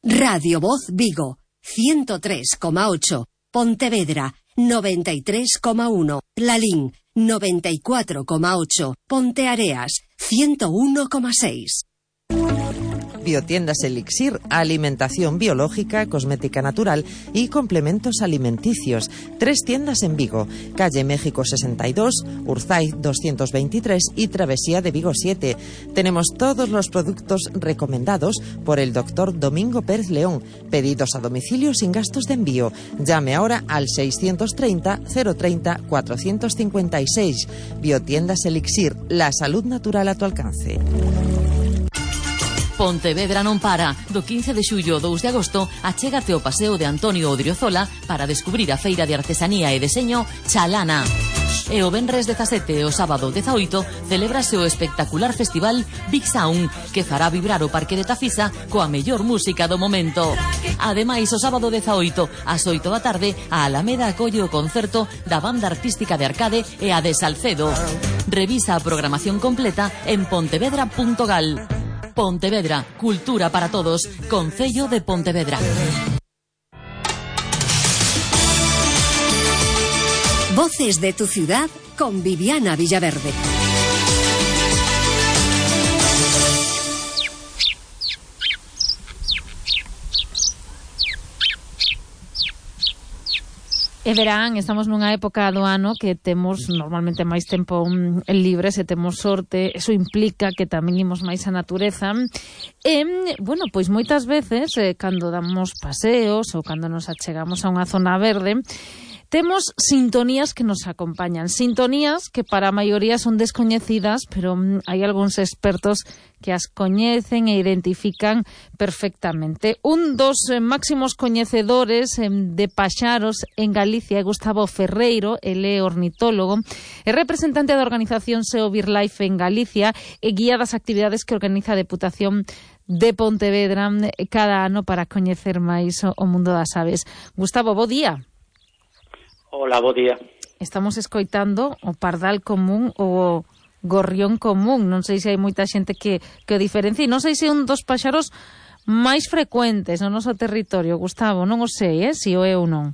Radio Voz Vigo, 103,8. Pontevedra, 93,1. Lalín, 94,8. Ponteareas, 101,6. Biotiendas Elixir, alimentación biológica, cosmética natural y complementos alimenticios. 3 tiendas en Vigo, calle México 62, Urzay 223 y Travesía de Vigo 7. Tenemos todos los productos recomendados por el doctor Domingo Pérez León. Pedidos a domicilio sin gastos de envío. Llame ahora al 630 030 456. Biotiendas Elixir, la salud natural a tu alcance. Pontevedra non para. Do 15 de xullo ao 2 de agosto achégate ao Paseo de Antonio Odriozola para descubrir a feira de artesanía e deseño Chalana. E o venres 17 e o sábado 18 celébrase o espectacular festival Big Sound, que fará vibrar o Parque de Tafisa coa mellor música do momento. Ademais, o sábado 18 ás 8 da tarde a Alameda acolle o concerto da banda artística de Arcade e a de Salcedo. Revisa a programación completa en pontevedra.gal. Pontevedra, cultura para todos, Concello de Pontevedra. Voces de tu ciudad con Viviana Villaverde. E verán, estamos nunha época do ano que temos normalmente máis tempo libre, se temos sorte, eso implica que tamén imos máis á natureza. E, bueno, pois moitas veces, cando damos paseos ou cando nos achegamos a unha zona verde, temos sintonías que nos acompañan, sintonías que para a maioría son descoñecidas, pero hai algúns expertos que as coñecen e identifican perfectamente. Un dos máximos coñecedores de paxaros en Galicia é Gustavo Ferreiro, ele é ornitólogo, é representante da organización SEO BirdLife en Galicia e guía das actividades que organiza a Deputación de Pontevedra cada ano para coñecer máis o mundo das aves. Gustavo, bo día. Hola, bo día. Estamos escoitando o pardal común ou o gorrión común. Non sei se hai moita xente que o diferencia. Non sei se é un dos paxaros máis frecuentes no noso territorio, Gustavo. Non o sei, se o é ou non.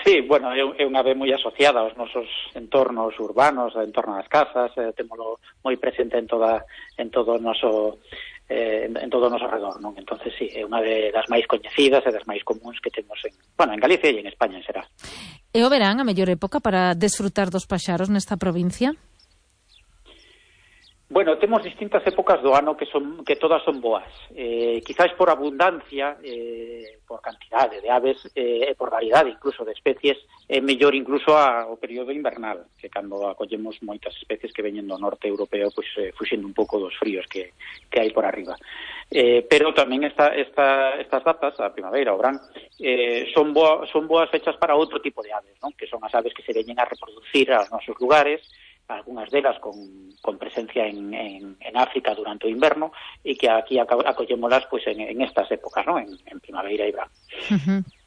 Sí, bueno, é unha ave moi asociada aos nosos entornos urbanos, en torno ás casas, témolo moi presente en todo o noso redor, non? Entonces, sí, é unha das máis coñecidas e das máis comuns que temos en Galicia e en España, será. E o verán a mellor época para desfrutar dos paxaros nesta provincia? Bueno, temos distintas épocas do ano que todas son boas. Quizás por abundancia, por cantidade de aves e por variedade incluso de especies, é mellor incluso o período invernal, que cando acollemos moitas especies que veñen do norte europeo, pois fuxindo un pouco dos fríos que hai por arriba. Pero tamén estas datas, a primavera, o verán, son boas fechas para outro tipo de aves, non? Que son as aves que se veñen a reproducir aos nosos lugares, algunhas delas con presencia en África durante o inverno e que aquí acollémolas pois en estas épocas, ¿no? En primavera e verano.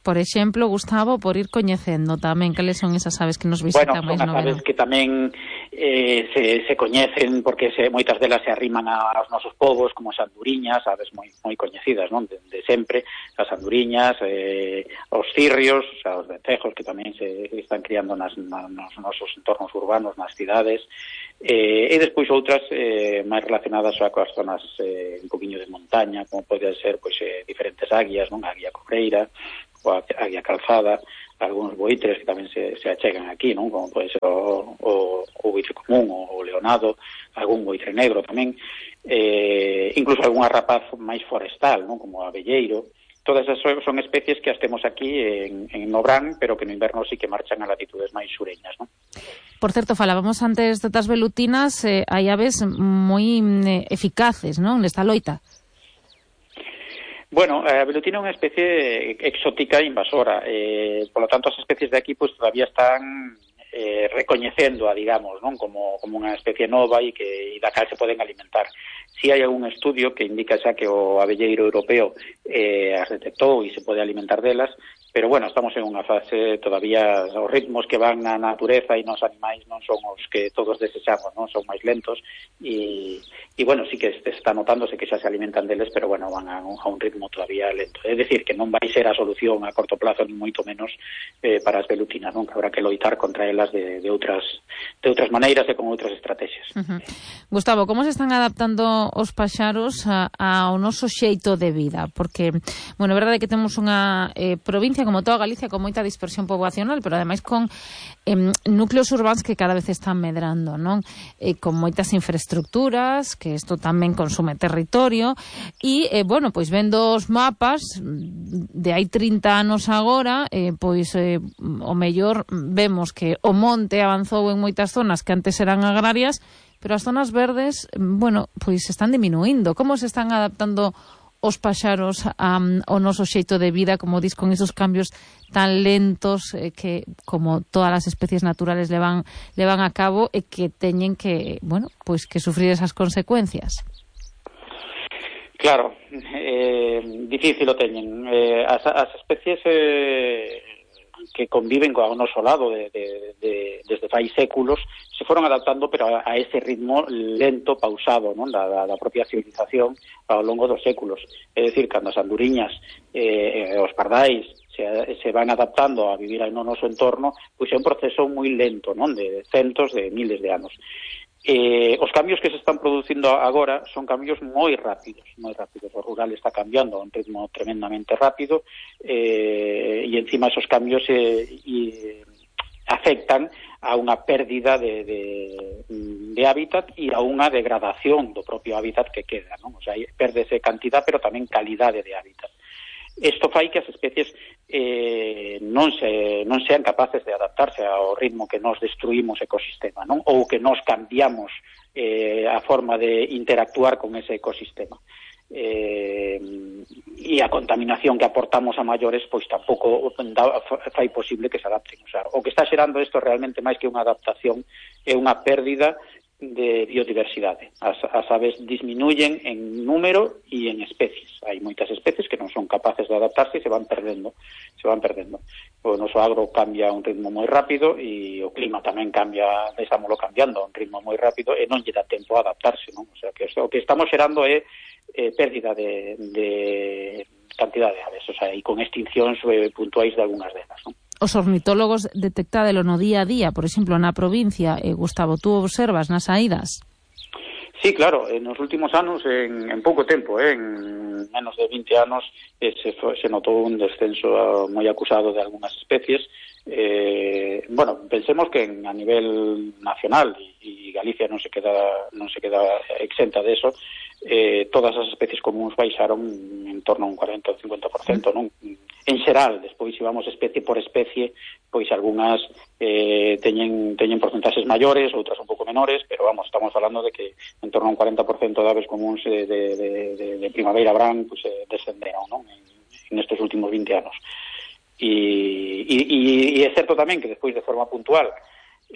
Por exemplo, Gustavo, por ir coñecendo tamén cales son esas aves que nos visitan máis no verano. Son as aves que tamén se coñecen porque moitas delas se arriman aos nosos povos, como as anduriñas, aves moi coñecidas, non? De sempre, as anduriñas, os cirrios, os vencejos que tamén se están criando nos nosos entornos urbanos, nas cidades, e despois outras máis relacionadas coas zonas un poquinho de montaña, como pode ser pois diferentes águias, non? A águia cobreira, ou a águia calzada, algúns boitres que tamén se achegan aquí, non? Como pode ser o boitre común, o leonado, algún boitre negro tamén, incluso algunha rapaz máis forestal, non? Como o abelleiro. Todas esas son especies que as temos aquí en Nobrán, pero que no inverno sí que marchan a latitudes máis sureñas, non? Por certo, falábamos antes das velutinas, hai aves moi eficaces, non? Nesta loita. Bueno, a velutina é unha especie exótica e invasora, por lo tanto as especies de aquí pues todavía están recoñecendo digamos, non? Como unha especie nova e da cal se poden alimentar. Si hai algún estudio que indica xa que o abelleiro europeo as detectou e se pode alimentar delas, pero bueno, estamos en unha fase todavía, os ritmos que van na natureza e nos animais non son os que todos desexamos, non son máis lentos e bueno, sí que está notándose que xa se alimentan deles, pero bueno, van a un ritmo todavía lento. É dicir, que non vai ser a solución a corto plazo, ni moito menos para as velutinas, non? Que habrá que loitar contra elas de outras maneiras e con outras estrategias. Gustavo, como se están adaptando os paxaros ao noso xeito de vida? Porque, bueno, é verdade que temos unha provincia como toda Galicia con moita dispersión poboacional, pero ademais con núcleos urbanos que cada vez están medrando, non? Con moitas infraestructuras, que isto tamén consume territorio, e, bueno, pois vendo os mapas de hai 30 anos agora, pois o mellor vemos que o monte avanzou en moitas zonas que antes eran agrarias, pero as zonas verdes, bueno, pois están diminuindo. Como se están adaptando os paxaros ao noso xeito de vida, como dis, con esos cambios tan lentos que, como todas as especies naturales levan a cabo e que teñen que, bueno, pois que sufrir esas consecuencias? Claro, difícil o teñen. As especies que conviven co noso lado desde fai séculos se foron adaptando, pero a ese ritmo lento, pausado, non? Da propia civilización ao longo dos séculos. É dicir, cando as anduriñas os pardais se van adaptando a vivir no noso entorno, pois é un proceso moi lento, non? De centos de miles de anos. Os cambios que se están producindo agora son cambios moi rápidos. O rural está cambiando a un ritmo tremendamente rápido e encima esos cambios afectan a unha pérdida de hábitat e a unha degradación do propio hábitat que queda, non? O sea, pérdese cantidad, pero tamén calidade de hábitat. Isto fai que as especies non sean capaces de adaptarse ao ritmo que nos destruímos o ecosistema, non? Ou que nos cambiamos a forma de interactuar con ese ecosistema. E a contaminación que aportamos a maiores pois tampouco fai posible que se adapten. O sea, o que está xerando isto realmente máis que unha adaptación é unha pérdida de biodiversidade. As aves disminuyen en número e en especies. Hai moitas especies que non son capaces de adaptarse e se van perdendo. O noso agro cambia a un ritmo moi rápido e o clima tamén cambia, estámoslo cambiando a un ritmo moi rápido e non lle dá tempo a adaptarse, non? O sea, que o que estamos xerando é pérdida de cantidad de aves, o sea, e con extincións puntuais de algunhas delas, non? Os ornitólogos detectádelo no día a día, por exemplo, na provincia, Gustavo, tú observas nas saídas? Sí, claro, nos últimos anos, en pouco tempo, en menos de 20 anos, se notou un descenso moi acusado de algunhas especies. Bueno, pensemos que a nivel nacional, e Galicia non se queda exenta de eso, todas as especies comuns baixaron en torno a un 40 ou 50%, non? En xeral, despois, se vamos especie por especie, pois algunhas teñen porcentaxes maiores, outras un pouco menores, pero vamos, estamos falando de que en torno a un 40% de aves comuns de primavera verán pois, descenderon, non? En estes últimos 20 anos. E é certo tamén que despois de forma puntual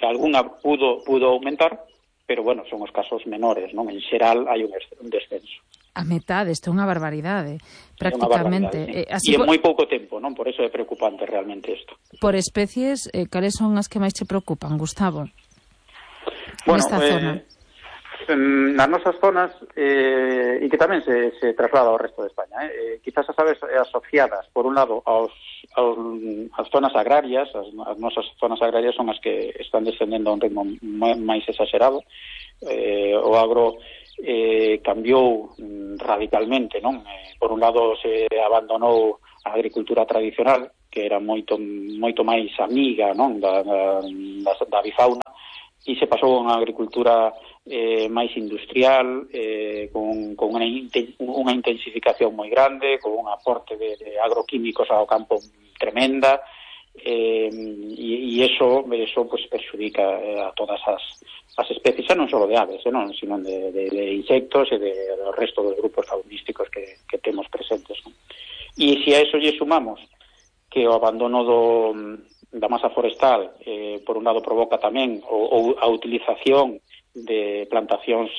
alguna pudo aumentar, pero bueno, son os casos menores, non? En xeral hai un descenso. A metade, isto é unha barbaridade, prácticamente. Sí. E en moi pouco tempo, non? Por eso é preocupante realmente isto. Por especies, cales son as que máis te preocupan, Gustavo? Bueno, nesta zona? Nas nosas zonas, e que tamén se traslada ao resto de España, quizás as aves asociadas, por un lado, as zonas agrarias, as nosas zonas agrarias son as que están descendendo a un ritmo máis exagerado. O agro cambiou radicalmente, non? Por un lado se abandonou a agricultura tradicional, que era moito máis amiga, non? da avifauna, e se pasou a unha agricultura máis industrial, con unha intensificación moi grande, con un aporte de agroquímicos ao campo tremenda, e eso pues perxudica a todas as especies, non só de aves, sino de insectos e do resto dos grupos faunísticos que temos presentes, non? E se a eso lle sumamos que o abandono da masa forestal, por un lado provoca tamén a utilización de plantacións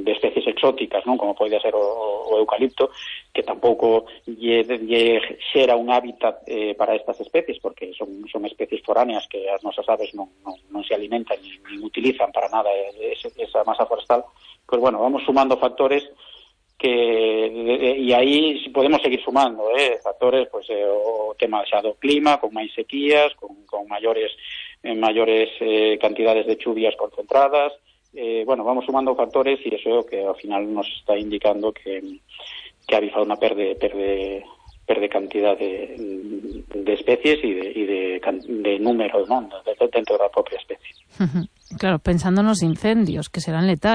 de especies exóticas, non? Como pode ser o eucalipto, que tampouco lle xera un hábitat para estas especies, porque son especies foráneas que as nosas aves non se alimentan ni utilizan para nada esa masa forestal. Pues bueno, vamos sumando factores e aí podemos seguir sumando factores, pues o tema xa do clima, con máis sequías, con maiores cantidades de chuvias concentradas. Bueno, vamos sumando factores e iso é o que ao final nos está indicando que a avifauna perde cantidad de especies e de números, non, dentro da propia especie. Claro, pensando nos incendios, que serán letales.